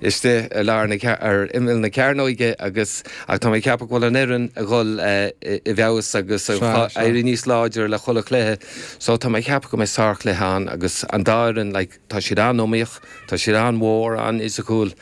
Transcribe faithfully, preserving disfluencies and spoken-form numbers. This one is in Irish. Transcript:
Istigh i lár na ar imeall na cearnóige agus ach tá mé ag ceapadh go bhfuil an fhoireann ag dhul i bhfeabhas agus ag éirí níos láidre le chuile chluiche so tá mé ag ceapadh go mbeidh sárchluiche ann agus an dá fhoireann like tá siad an-iomaíoch, tá siad an-mhór, an-fhisiciúil.